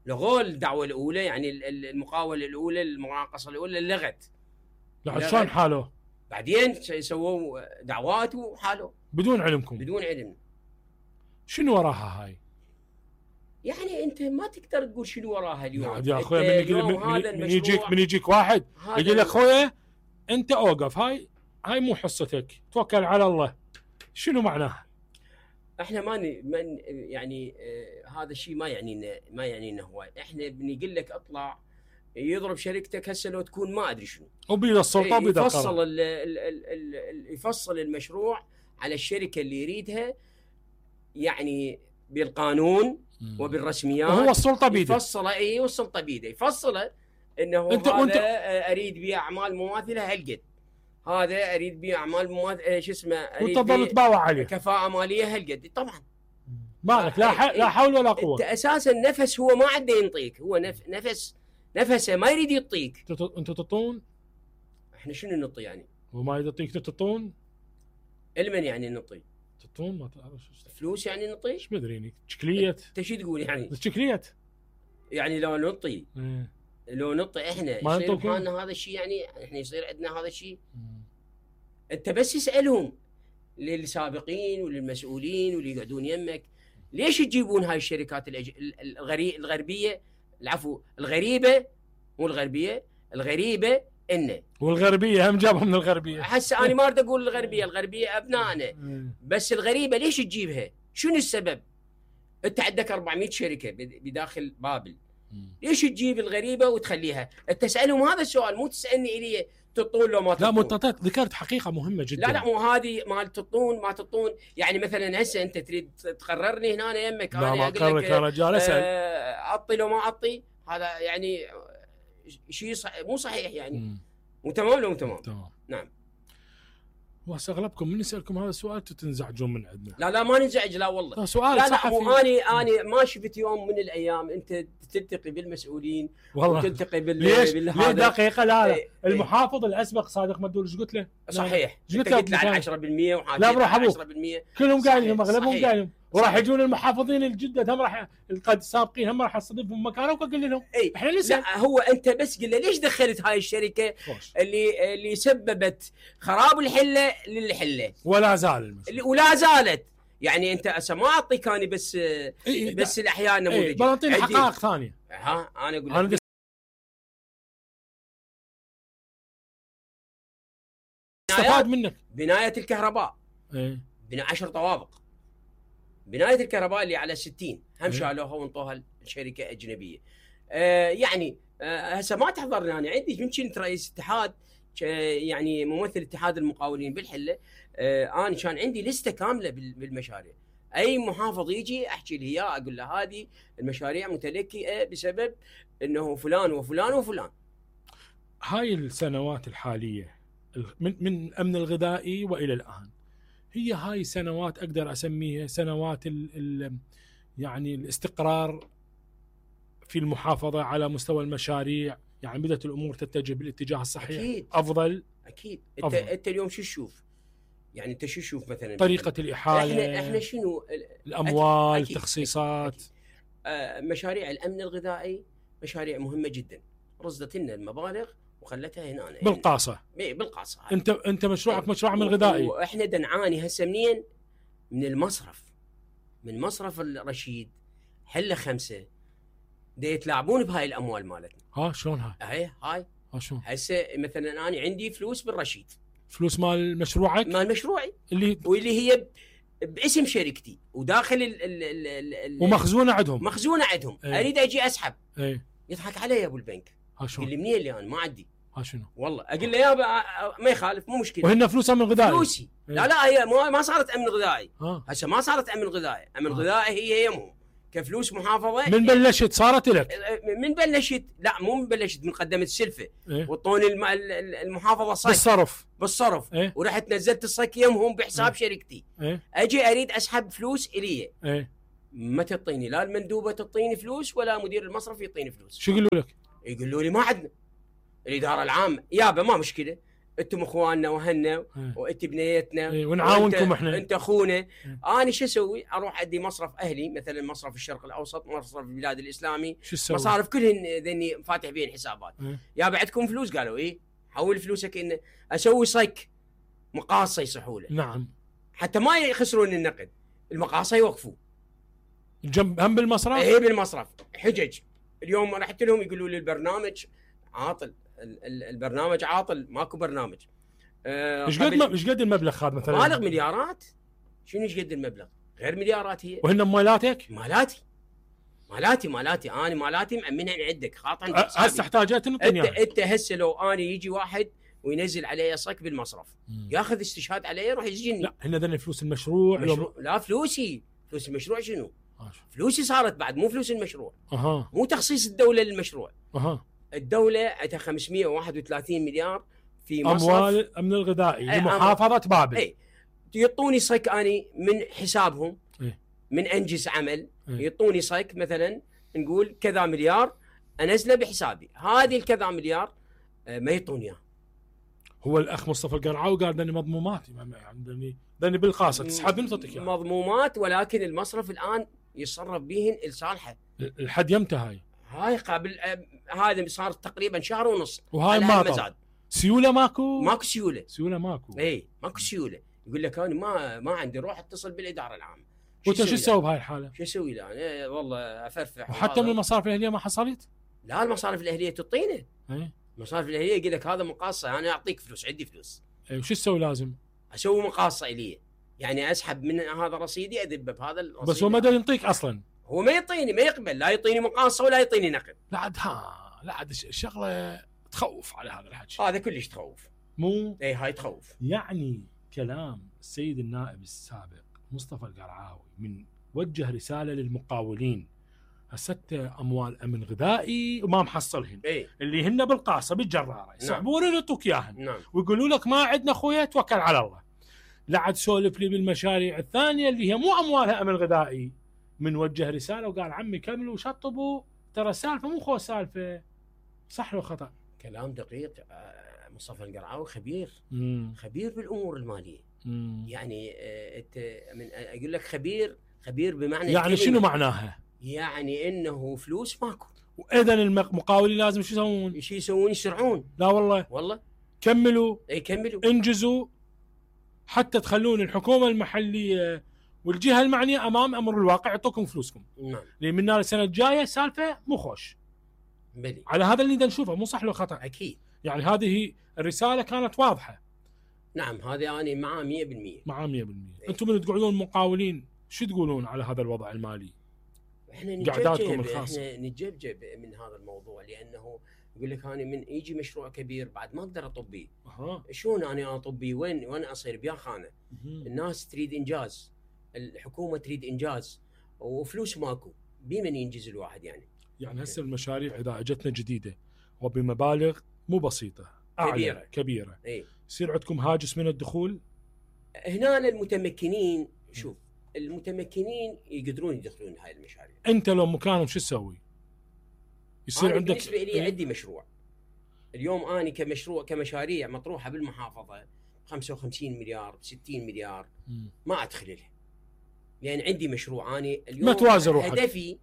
لغوا الدعوه الاولى. يعني المقاوله الاولى، المناقصه الاولى لغت.
لا شلون حالوه؟
بعدين سووا دعوات وحالوا
بدون علمكم؟
بدون علم.
شنو وراها هاي؟
يعني انت ما تقدر تقول شنو وراها اليوم.
يا اخويا من يجيك واحد يقول لك اخويا انت اوقف، هاي مو حصتك، توكل على الله. شنو معناها؟
احنا ما يعني هذا الشيء ما يعني انه هواي. احنا بنقول لك اطلع يضرب شركتك هسه لو تكون ما ادري شنو
وبيد السلطه وبيد
يفصل يفصل المشروع على الشركه اللي يريدها، يعني بالقانون وبالرسميات.
وهو السلطه بيده
يفصله. والسلطه بيده يفصله انه هذا اريد بيه اعمال مماثله هالقد، هذا اريد بيه اعمال مماثله شو اسمه،
وانت تظل تباوع عليه
كفاءه ماليه هالقد. طبعا
مالك لا حول ولا قوه.
انت اساسا نفس هو ما عنده ينطيك، هو نفسه ما يريد يعطيك.
انتوا تطون؟
احنا شنو نعطي يعني؟
هو ما يعطيك تطون؟
المن يعني نعطي؟
تطون ما تعرف
فلوس يعني نعطي؟
ايش مدريني شكليت.
انت شو تقول يعني؟
شكليت
يعني لو نعطي لو نعطي احنا يصير بحالنا هذا الشيء. يعني احنا يصير عندنا هذا الشيء. انت بس اسالهم للسابقين وللمسؤولين واللي يقعدون يمك، ليش تجيبون هاي الشركات الغربيه، العفو الغريبه، مو الغربيه، الغريبه إنه
والغربيه هم جابهم من الغربيه.
هسه انا ما اريد اقول الغربيه ابنائنا، بس الغريبه ليش تجيبها؟ شنو السبب؟ انت عندك 400 شركه بداخل بابل، ليش تجيب الغريبه وتخليها؟ انت تسالهم هذا السؤال، مو تسالني الي تطون لو ما تطون.
لا مو ذكرت حقيقه مهمه جدا.
لا مو هذه مال تطون ما تطون. يعني مثلا هسه انت تريد تقررني هنا يمك،
لا ما اقررك يا رجال، اسال
اعطي لو ما اعطي، هذا يعني شيء مو صحيح يعني. مو تمام لو مو تمام؟
تمام
نعم.
وهسه اغلبكم من يسالكم هذا السؤال تنزعجون من عندنا.
لا ما ننزعج، لا والله
سؤال
لا
صحفي.
مو اني ما شفت يوم من الايام انت تلتقي بالمسؤولين
والله
وتلتقي
ليش دقيقه لا المحافظ الاسبق صادق مدول ايش قلت له؟
صحيح قلت له على 10%
لا بروح ابوك 10% كلهم قايلين اغلبهم قايلين، وراح يجون المحافظين الجدد هم راح قد سابقين هم راح استضيفهم مكانهم وقول لهم احنا نسال.
لا هو انت بس قل له ليش دخلت هاي الشركه اللي سببت خراب الحله للحله
ولا زال
ولا زالت. يعني انت هسه ما اعطيك انا بس الاحياء النموذجيه،
بنعطيني حقائق ثانيه.
انا اقول لك
استفاد منك.
بنايه الكهرباء 10 طوابق، بنايه الكهرباء اللي على 60 هم شالوها وانطوها لشركه اجنبيه. يعني هسه ما تحضرني انا عندي من كنت رئيس اتحاد، يعني ممثل اتحاد المقاولين بالحله. انا كان عندي لسته كامله بالمشاريع، اي محافظ يجي احكي له اياه اقول له هذه المشاريع متلكئه بسبب انه فلان وفلان وفلان.
هاي السنوات الحاليه من الامن الغذائي والى الان، هي هاي سنوات اقدر اسميها سنوات يعني الاستقرار في المحافظه على مستوى المشاريع، يعني بدات الامور تتجه بالاتجاه الصحيح.
أكيد.
افضل.
انت اليوم شو تشوف؟ يعني انت شو تشوف مثلا
طريقه الاحاله،
احنا شنو
الاموال، التخصيصات.
مشاريع الامن الغذائي مشاريع مهمه جدا، رصدت لنا المبالغ وخلتها هنا
بالقاصه.
بالقاصه.
انت مشروعك مشروع من غذائي،
واحنا دنعاني هسه منين؟ من المصرف، من مصرف الرشيد حله 5 يتلاعبون بهاي الاموال مالتنا.
شلون هاي؟
هاي
شلون؟
هسه مثلا انا عندي فلوس بالرشيد،
فلوس مال مشروعك؟
مال مشروعي واللي هي باسم شركتي وداخل
ومخزونه عندهم.
مخزونه عندهم. اريد اجي اسحب. يضحك علي ابو البنك.
شلون؟
يقول لي منين اللي انا ما عندي.
شنو؟
والله اقول له يابا ما يخالف مو مشكله.
وهن فلوس امن غذائي.
فلوسي. لا هي ما صارت امن غذائي. هسه ما صارت امن غذائي، امن غذائي هي يمهم كفلوس محافظه.
من بلشت صارت لك؟
من بلشت، لا مو من بلشت، من قدمت السلفه وطوني المحافظه صك بالصرف ورحت نزلت الصك يمهم بحساب شركتي. اجي اريد اسحب فلوس الي. ما تعطيني لا المندوبه تعطيني فلوس ولا مدير المصرف يعطيني فلوس.
شو يقولوا لك؟
يقولوا لي ما عندنا. الاداره العامه يابا ما مشكله، انتم اخواننا وهنا وانت بنيتنا
ونعاونكم احنا،
انت اخونا. انا شو اسوي؟ اروح ادي مصرف اهلي مثلا مصرف الشرق الاوسط، مصرف البلاد الاسلامي، مصارف كلهن ذني فاتح بين حسابات. يابا عندكم فلوس؟ قالوا ايه. حول فلوسك انه اسوي صك مقاصه يصحوا له.
نعم.
حتى ما يخسرون النقد، المقاصه يوقفوا
جنب هم بالمصرف.
بالمصرف حجج. اليوم رحت لهم يقولوا لي البرنامج عاطل، البرنامج عاطل، ماكو برنامج.
ايش قد المبلغ هذا مثلا؟
مالغ مليارات. شنو ايش قد المبلغ؟ غير مليارات هي.
وهن مالاتك؟
مالاتي انا مالاتي مأمنها عندك خاطر
هسه احتاجات
انت هسه لو انا يجي واحد وينزل علي صك بالمصرف ياخذ استشهاد علي يروح يسجنني.
لا هن ذن فلوس المشروع.
لا فلوسي، فلوس المشروع شنو؟ فلوسي صارت بعد، مو فلوس المشروع. مو تخصيص الدوله للمشروع. الدوله عندها 531 مليار في مصرف
اموال الامن الغذائي لمحافظه بابل.
يعطوني صك اني من حسابهم من انجز عمل. يعطوني صك مثلا نقول كذا مليار انزله بحسابي، هذه الكذا مليار ما يعطوني اياه.
هو الاخ مصطفى القرعاوي قال دني مضمومات، يعني دني بالخاصه تسحب من تعطيك
مضمومات، ولكن المصرف الان يتصرف بهن لصالحه.
الحد يمتى
هاي قبل هذا صار تقريبا شهر ونص،
وهاي ما زاد. سيوله ماكو
سيوله
ماكو.
ماكو سيوله. يقول لك انا ما عندي، روح اتصل بالاداره العامه.
وانت شو تسوي بهاي الحاله؟
شو اسوي له انا؟ والله افرفح.
وحتى من المصارف الاهليه ما حصلت؟
لا المصارف الاهليه تعطينا. المصارف الاهليه يقول لك هذا مقاصه، انا اعطيك فلوس، عندي فلوس.
وش تسوي؟ لازم
اسوي مقاصه الي. يعني اسحب من هذا رصيدي اذبه بهذا الرصيد.
بس هو ما ينطيك اصلا،
هو ما يعطيني، ما يقبل، لا يعطيني مقاصه ولا يعطيني نقد.
لا عاد شغله تخوف على هذا الحكي.
هذا كلش تخوف.
مو
اي هاي تخوف.
يعني كلام السيد النائب السابق مصطفى القرعاوي من وجه رساله للمقاولين، هسه اموال امن غذائي وما محصلهن، اللي هن بالقاصه بالجراره يسحبون يعطوك اياهن، ويقولوا لك ما عندنا خويا توكل على الله. لا عاد سولف لي بالمشاريع الثانيه اللي هي مو اموالها امن غذائي. من وجه رساله وقال عمي كملوا وشطبوا، ترى السالفه مو خو سالفه. صح لو خطا؟
كلام دقيق. مصطفى القرعاوي خبير. خبير بالامور الماليه. يعني انت من اقول لك خبير بمعنى
يعني شنو معناها؟
يعني انه فلوس ماكو،
واذا المقاولين لازم شو يسوون؟
شو يسوون؟ يسرعون.
لا والله كملوا.
كملوا،
انجزوا حتى تخلون الحكومه المحليه والجهه المعنيه امام امر الواقع يعطوكم فلوسكم.
نعم.
لان من السنه الجايه سالفه مو خوش.
بلي.
على هذا اللي نشوفه، مو صح لو خطا؟
اكيد.
يعني هذه الرساله كانت واضحه.
نعم، هذه انا معاه 100%.
معاه 100%. انتم من تقعدون مقاولين شو تقولون على هذا الوضع المالي؟
احنا نتجبجب من هذا الموضوع، لانه يقول لك انا من يجي مشروع كبير بعد ما اقدر اطبيه. شلون انا اطبيه؟ وين اصير بيا خانه؟ الناس تريد انجاز، الحكومه تريد انجاز، وفلوس ماكو، بمن ينجز الواحد يعني
هسه المشاريع اذا اجتنا جديده وبمبالغ مو بسيطه كبيره يصير عندكم هاجس من الدخول.
هنا المتمكنين، شوف المتمكنين يقدرون يدخلون هاي المشاريع.
انت لو مكانهم شو تسوي؟ يصير عندك
بالنسبه لي عندي مشروع اليوم، اني كمشاريع مطروحه بالمحافظه 55 مليار 60 مليار ما ادخل لها، لان عندي مشروع. اني اليوم
ما توازن روحك.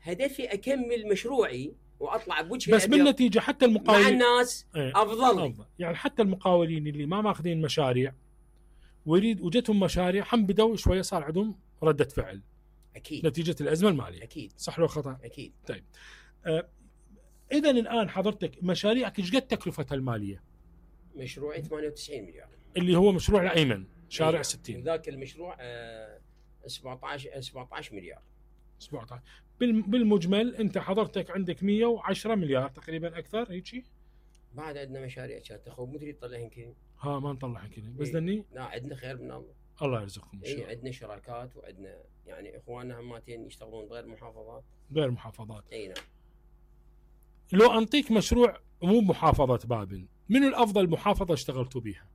هدفي اكمل مشروعي واطلع بوجه
بس بالنتيجه حتى المقاولين
مع الناس افضل.
يعني حتى المقاولين اللي ما ماخذين مشاريع وجتهم مشاريع هم بدوا شويه صار عندهم رده فعل.
اكيد.
نتيجه الازمه الماليه.
اكيد.
صح لو خطا؟
اكيد.
طيب اذا الان حضرتك مشاريعك ايش قد تكلفتها الماليه؟
مشروعي 98 مليار
اللي هو مشروع الايمن شارع 60.
وذاك المشروع 17 مليار.
17 بالمجمل انت حضرتك عندك 110 مليار تقريبا، اكثر هيك.
بعد عندنا مشاريع كانت اخو مو تريد تطلعين كذي.
ما نطلعين كذي بس دني.
لا عندنا خير من الله.
الله يرزقكم ان شاء الله.
عندنا شراكات وعندنا يعني اخواننا هماتين يشتغلون غير محافظات. اي نعم.
لو انطيك مشروع مو محافظه بابل، منو الافضل محافظه اشتغلتوا بيها؟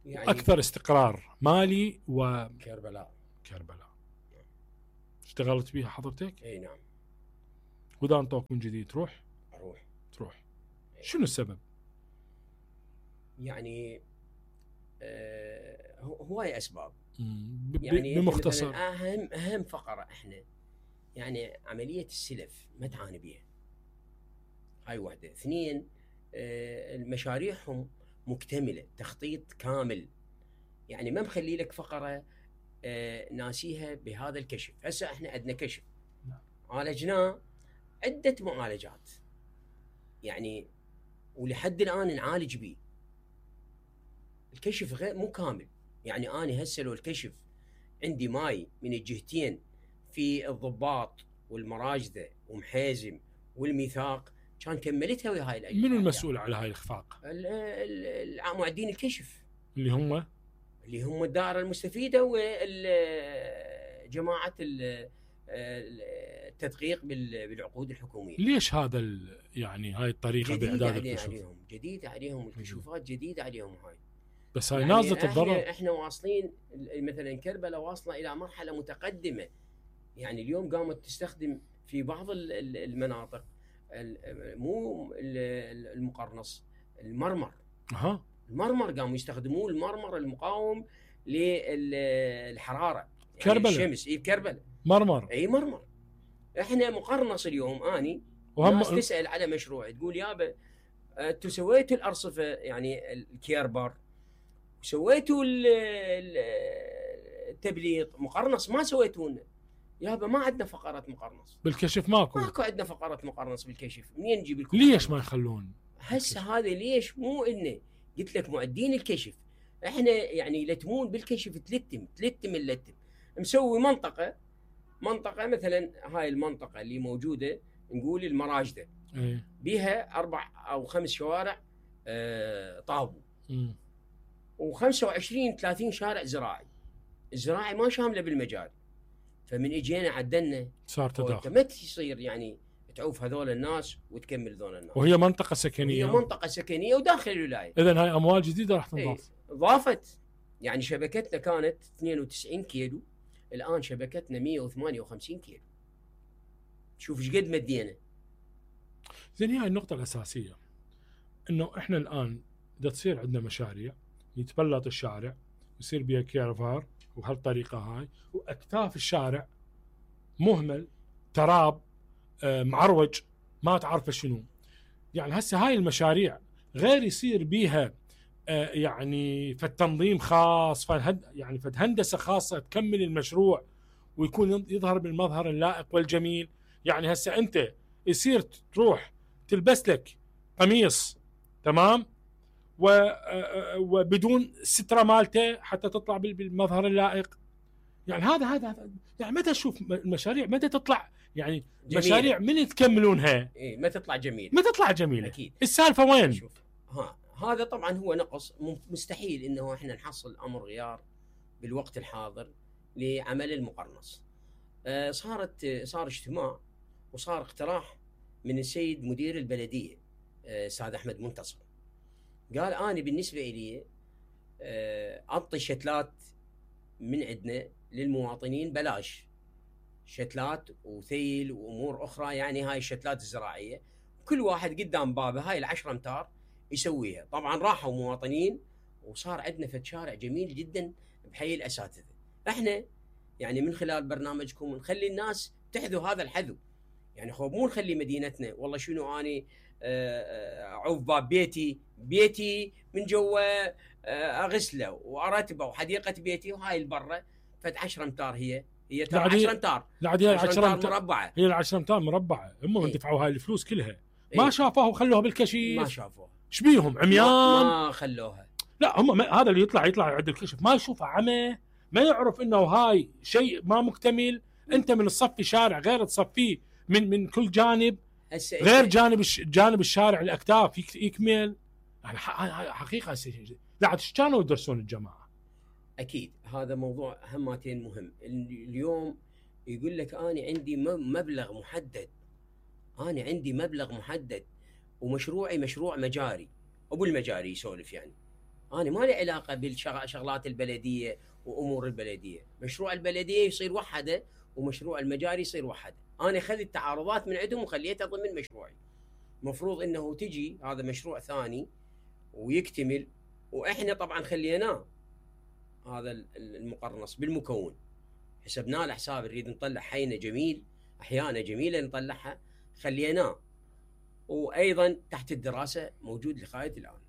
يعني اكثر استقرار مالي
كربلاء.
اشتغلت بيها حضرتك؟
اي نعم.
واذا انطوك من جديد تروح؟ شنو السبب؟
يعني هواي اسباب.
يعني بمختصر
اهم فقره احنا يعني عمليه السلف ما تعاني بيها. هاي واحده. اثنين، المشاريعهم مكتمله، تخطيط كامل، يعني ما مخلي لك فقره ناسيها بهذا الكشف. هسه احنا عندنا كشف عالجناه عده معالجات يعني، ولحد الان نعالج به. الكشف غير مو كامل. يعني انا هسه لو الكشف عندي ماي من الجهتين في الضباط والمراجده ومحيزم والميثاق كان كملتها ويا هاي الاجهزه.
منو المسؤول على هاي الاخفاق؟
معدين الكشف
اللي هم
الدائره المستفيده وجماعه التدقيق بالعقود الحكوميه.
ليش هذا يعني هاي الطريقه باعداد الكشوف؟
جديده عليهم الكشوفات، جديده عليهم هاي.
بس هاي يعني نازله الضرر.
احنا واصلين مثلا كربلاء واصله الى مرحله متقدمه. يعني اليوم قامت تستخدم في بعض المناطق مو المقرنص، المرمر. المرمر قاموا يستخدموه، المرمر المقاوم للحراره يعني
كربلاء.
الشمس. بكربلاء
مرمر.
مرمر. احنا مقرنص اليوم. اني ناس تسال على مشروع تقول يابا انتم سويتوا الارصفه يعني الكيربر وسويتوا التبليط، مقرنص ما سويتوا لنا. يابا ما عندنا فقره مقرنص
بالكشف. ماكو
عندنا فقره مقرنص بالكشف. منين نجيب
ليش ما يخلون
هسه هذا؟ ليش مو انه قلت لك معدين الكشف احنا يعني يلتمون بالكشف تلتم اللتم، مسوي منطقه مثلا، هاي المنطقه اللي موجوده نقول المراجده بها 4 أو 5 شوارع طابو، و25 30 شارع زراعي ما شامله بالمجال. فمن اجينا عدلنا
صار تداخل،
ما تصير يعني تعوف هذول الناس وتكمل هذول الناس،
وهي منطقه سكنيه،
هي منطقه سكنيه وداخل الولايه.
اذا هاي اموال جديده راح تنضاف.
ضافت يعني شبكتنا كانت 92 كيلو، الان شبكتنا 158 كيلو. شوف ايش قد مدينا.
زين، هاي النقطه الاساسيه، انه احنا الان اذا تصير عندنا مشاريع يتبلط الشارع يصير بها كيرفار وهالطريقه هاي، واكتاف الشارع مهمل، تراب، معروج، ما تعرف شنو. يعني هسه هاي المشاريع غير يصير بيها يعني فالتنظيم خاص، يعني فهندسه خاصه تكمل المشروع ويكون يظهر بالمظهر اللائق والجميل. يعني هسه انت يصير تروح تلبس لك قميص تمام وبدون ستره مالته حتى تطلع بالمظهر اللائق. يعني هذا يعني متى تشوف المشاريع متى تطلع يعني جميلة. مشاريع من تكملونها
ما تطلع جميله،
ما تطلع جميله
اكيد.
السالفه وين؟
شوف هذا طبعا هو نقص، مستحيل انه احنا نحصل امر غيار بالوقت الحاضر لعمل المقرنص. صار اجتماع وصار اقتراح من السيد مدير البلديه استاذ احمد منتصر، قال انا بالنسبه لي اعطي شتلات من عندنا للمواطنين بلاش، شتلات وثيل وامور اخرى، يعني هاي الشتلات الزراعيه كل واحد قدام بابه هاي ال10 امتار يسويها. طبعا راحوا مواطنين وصار عندنا فد شارع جميل جدا بحي الاساتذه. احنا يعني من خلال برنامجكم نخلي الناس تحذو هذا الحذو، يعني مو نخلي مدينتنا والله شنو اني اعوف باب بيتي من جوا اغسله وارتبه وحديقه بيتي، وهاي البره فد 10 امتار هي 10 امتار،
لا هي 10
امتار مربعه،
هي 10 امتار مربعه، هم دفعوا هاي الفلوس كلها ما شافوها وخلوها بالكشف،
ما شافوها،
ايش بيهم عميان؟
ما خلوها.
لا هم هذا اللي يطلع عند الكشف ما يشوفه عمى، ما يعرف انه هاي شيء ما مكتمل. انت من تصفي شارع غير تصفيه من كل جانب غير جانب الشارع الاكتاف يكمل. يعني حقيقه لا عاد كانوا يدرسون الجماعه.
اكيد هذا موضوع همتين مهم. اليوم يقول لك انا عندي مبلغ محدد، انا عندي مبلغ محدد ومشروعي مشروع مجاري، ابو المجاري يسولف، يعني انا ما لي علاقه بالشغلات البلديه وامور البلديه، مشروع البلديه يصير وحده ومشروع المجاري يصير وحده. انا اخذت تعارضات من عندهم وخليتها ضمن مشروعي. مفروض انه تجي هذا مشروع ثاني ويكتمل، واحنا طبعا خليناه هذا المقرنص بالمكون، حسبناه لحساب نريد نطلع حينا جميل، احيانا جميله نطلعها، خليناه وايضا تحت الدراسه موجود لغايه الان.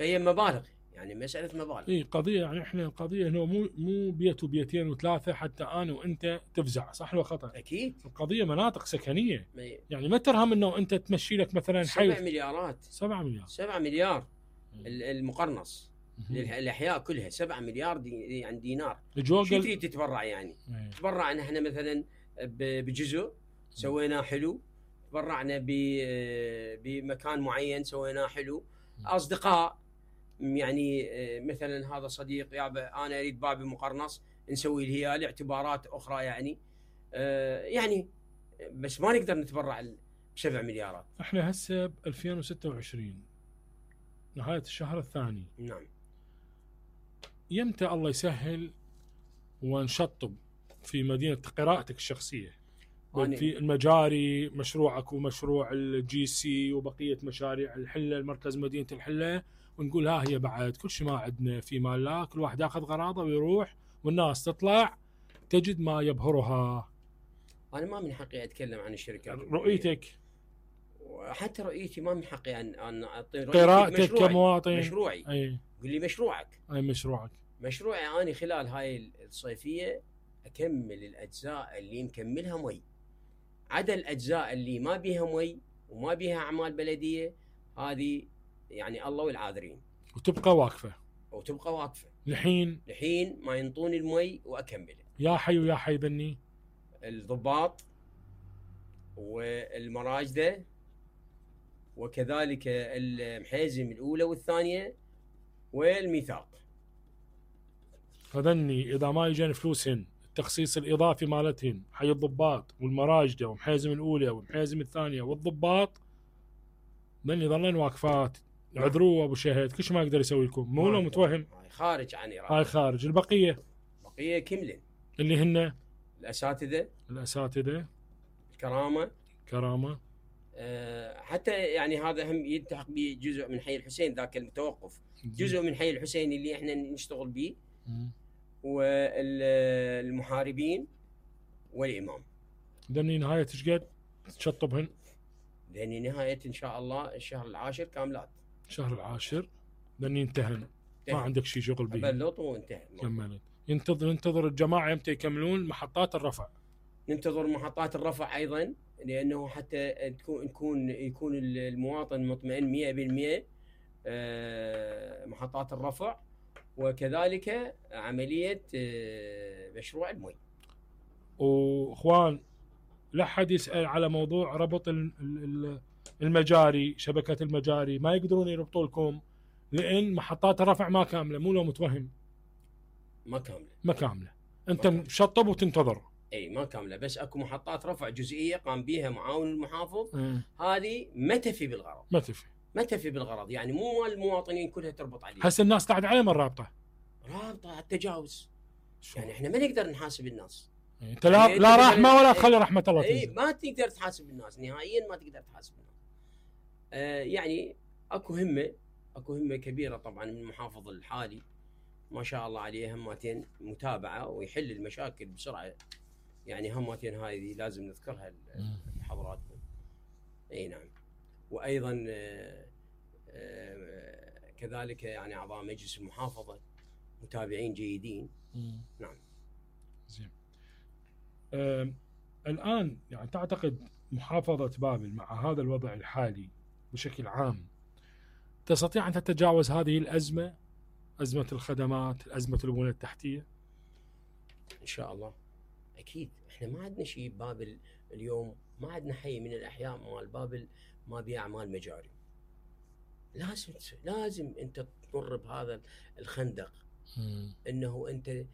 هي مبالغ، يعني مساله مبالغ.
اي قضيه، يعني احنا القضيه انه مو بيت وبيتين وثلاثه حتى انا وانت تفزع، صح ولا خطا؟
اكيد
القضيه مناطق سكنيه، يعني ما ترهم انه انت تمشي لك مثلا حي
7 مليارات
7
مليار المقرنص الاحياء كلها 7 مليار يعني دينار. شو تريد تتبرع يعني؟ تبرعنا احنا مثلا بجزء سويناه حلو، تبرعنا بمكان معين سويناه حلو، اصدقاء يعني مثلا هذا صديق يابا انا اريد بابي مقرنص نسوي له لاعتبارات اخرى، يعني بس ما نقدر نتبرع ب7 مليارات.
احنا هسه ب 2026 نهايه الشهر الثاني،
نعم،
يمتى الله يسهل ونشطب في مدينه قراءتك الشخصيه في المجاري، مشروعك ومشروع الجي سي وبقيه مشاريع الحله، المركز مدينه الحله، ونقول ها هي بعد كل شيء ما عندنا في مال، لا كل واحد ياخذ غراضه ويروح والناس تطلع تجد ما يبهرها.
انا ما من حقي اتكلم عن الشركات،
رؤيتك
حتى رؤيتي ما من حقي ان اعطي
قراءتك كمواطن.
مشروعي
اي
قل لي مشروعك.
اي مشروعي
انا خلال هاي الصيفيه اكمل الاجزاء اللي مكملها مي، عدا الاجزاء اللي ما بيها مي وما بيها اعمال بلديه، هذه يعني الله والعاذرين،
وتبقى واقفه
وتبقى واقفه
لحين
ما ينطوني المي واكمله.
يا حي ويا حي ذني
الضباط والمراجده وكذلك المحيزم الاولى والثانيه والميثاق.
هذني اذا ما يجين فلوسهن التخصيص الاضافي مالتهن حي الضباط والمراجده ومحيزم الاولى والمحيزم الثانيه والضباط، ذني ظلن واقفات. اعذروه ابو شهيد، كل شيء ما يقدر يسوي لكم، مو لو متوهم.
هاي خارج عن إرادة.
هاي خارج. البقيه
كملن
اللي هن
الاساتذه
كرامه
حتى يعني هذا هم يلتحق بجزء من حي الحسين، ذاك المتوقف جزء من حي الحسين اللي احنا نشتغل به، والمحاربين والامام.
ذني نهايه ايش قد تشطبهن؟
ذني نهايه ان شاء الله الشهر العاشر كاملات.
شهر العاشر ذني انتهن، ما عندك شيء شغل به.
بلط وانتهى.
كملت. ننتظر الجماعه امتى يكملون محطات الرفع؟
ننتظر محطات الرفع ايضا، لانه حتى يكون المواطن مطمئن 100% محطات الرفع، وكذلك عمليه مشروع المي.
واخوان لا حد يسال على موضوع ربط المجاري، شبكه المجاري ما يقدرون يربطوا لكم لان محطات الرفع ما كامله، مو لو متوهم.
ما كامله.
انت مشطب وتنتظر.
اي ما كامله، بس اكو محطات رفع جزئيه قام بها معاون المحافظ. هذه ما تفي بالغرض. ما تفي بالغرض، يعني مو مال المواطنين كلها تربط عليها.
هسه الناس قاعد عليهم الرابطه
على التجاوز. يعني احنا ما نقدر نحاسب الناس.
انت لا رحمه ولا تخلي رحمه الله تنزل.
ما تقدر تحاسب الناس نهائيا، ما تقدر تحاسب الناس. يعني اكو همه كبيره طبعا من المحافظ الحالي ما شاء الله عليه، همتين متابعه ويحل المشاكل بسرعه. يعني همتين هذه لازم نذكرها لحضراتكم. اي نعم. وايضا كذلك يعني اعضاء مجلس المحافظه متابعين جيدين. نعم.
زين. الان يعني تعتقد محافظه بابل مع هذا الوضع الحالي بشكل عام تستطيع ان تتجاوز هذه الازمه، ازمه الخدمات، ازمه البنيه التحتيه؟
ان شاء الله. اكيد احنا ما عندنا شيء ببابل اليوم، ما عندنا حي من الاحياء مال بابل ما بيه اعمال مجاري. لازم انت تمر بهذا الخندق، انه انت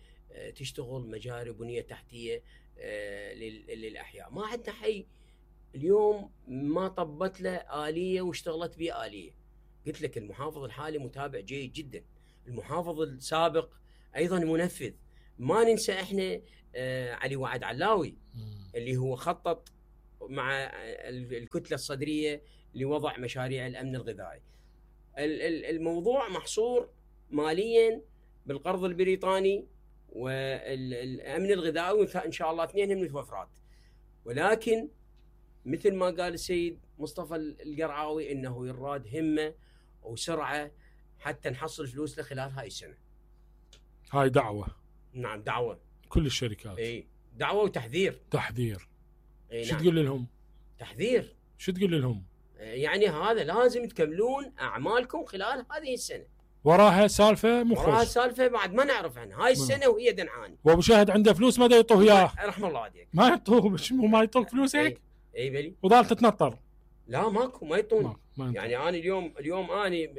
تشتغل مجاري بنيه تحتيه للاحياء. ما عندنا حي اليوم ما طبت له آلية واشتغلت به آلية. قلت لك المحافظ الحالي متابع جيد جدا، المحافظ السابق ايضا منفذ. ما ننسى احنا علي وعد علاوي اللي هو خطط مع الكتلة الصدرية لوضع مشاريع الأمن الغذائي. الموضوع محصور ماليا بالقرض البريطاني والأمن الغذائي، إن شاء الله اثنين متوفرات. ولكن مثل ما قال السيد مصطفى القرعاوي انه يراد همة وسرعة حتى نحصل فلوس خلال هاي السنة.
هاي دعوة.
نعم دعوة
كل الشركات.
اي دعوة وتحذير.
شو تقول لهم؟
تحذير.
شو تقول لهم؟
يعني هذا لازم تكملون اعمالكم خلال هذه السنة.
وراها سالفة مخرج.
وراها سالفة بعد ما نعرف عنها هاي السنة وهي دنعاني.
وابو شاهد عنده فلوس ما دا يعطوه اياه.
رحم الله عليك.
ما يعطوه، ما يعطوك فلوسك؟
اي بلي.
وظال تتنطر.
لا ماكو، ما يعطون. يعني انا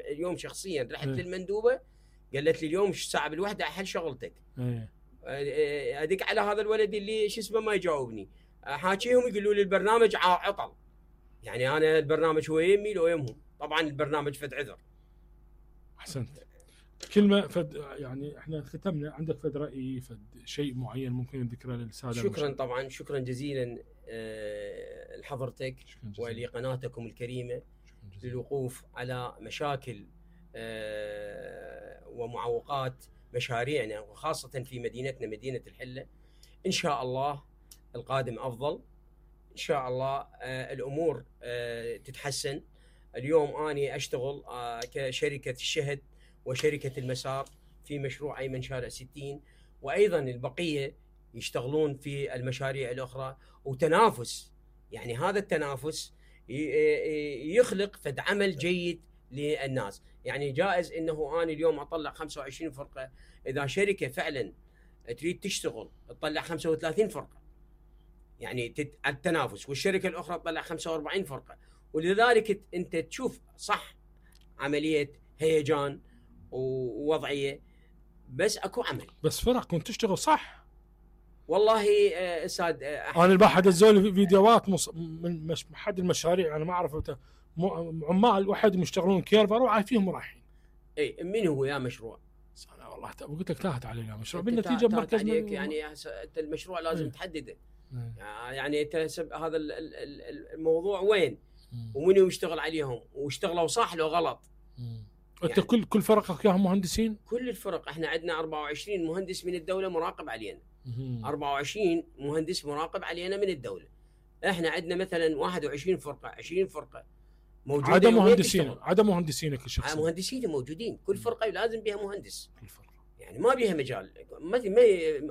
اليوم شخصيا رحت للمندوبة قالت لي اليوم الساعة بالوحدة احل شغلتك. ادق على هذا الولد اللي شو اسمه ما يجاوبني، حاكيهم يقولوا لي البرنامج عطل. يعني انا البرنامج هو يمي لو يمهم، طبعا البرنامج فد عذر.
احسنت. كلمه فد، يعني احنا ختمنا، عندك فد راي فد شيء معين ممكن ذكره للساده؟
شكرا طبعا، شكرا جزيلا لحضرتك ولقناتكم الكريمه للوقوف على مشاكل ومعوقات مشاريعنا، وخاصه في مدينتنا مدينه الحله. ان شاء الله القادم افضل، ان شاء الله الامور تتحسن. اليوم اني اشتغل كشركه الشهد وشركه المسار في مشروع ايمن شارع 60، وايضا البقيه يشتغلون في المشاريع الاخرى، وتنافس. يعني هذا التنافس يخلق فد عمل جيد للناس. يعني جائز انه انا اليوم اطلع 25 فرقه، اذا شركه فعلا تريد تشتغل تطلع 35 فرقه، يعني التنافس، والشركه الاخرى تطلع 45 فرقه، ولذلك انت تشوف صح عمليه هيجان ووضعيه، بس اكو عمل،
بس فرق كنت تشتغل صح.
والله استاذ
انا الباحث الزول فيديوهات من حد المشاريع انا ما اعرف عمال واحد يشتغلون كيرفر وعارفينهم رايحين.
اي من هو يا مشروع؟
انا والله قلت لك تاهت علينا مشروع بالنتيجه مركز
يعني انت المشروع لازم تحدده. يعني انت هذا الموضوع وين ومن يشتغل عليهم واشتغلوا صح لو غلط.
انت يعني كل فرقك ياهم مهندسين؟
كل الفرق احنا عندنا 24 مهندس من الدوله مراقب علينا. 24 مهندس مراقب علينا من الدوله. احنا عندنا مثلا 21 فرقه 20 فرقه موجوده.
عدم مهندسينك الشخصي؟
مهندسين موجودين، كل فرقه لازم بها مهندس.
كل فرقه
يعني ما بها مجال،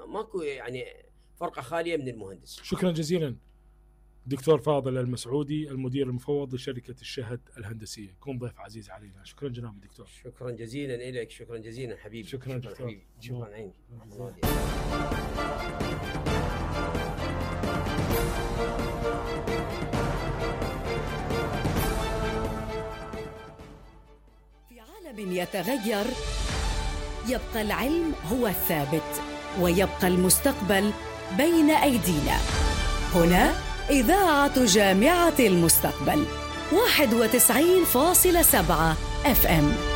ماكو يعني فرقه خاليه من المهندس.
شكرا جزيلا دكتور فاضل المسعودي، المدير المفوض لشركه الشهد الهندسيه، كون ضيف عزيز علينا. شكرا جناب الدكتور.
شكرا جزيلا لك. شكرا جزيلا حبيبي.
شكرا دكتور.
شكرا عيني.
في عالم يتغير يبقى العلم هو الثابت، ويبقى المستقبل بين أيدينا. هنا إذاعة جامعة المستقبل 91.7 FM.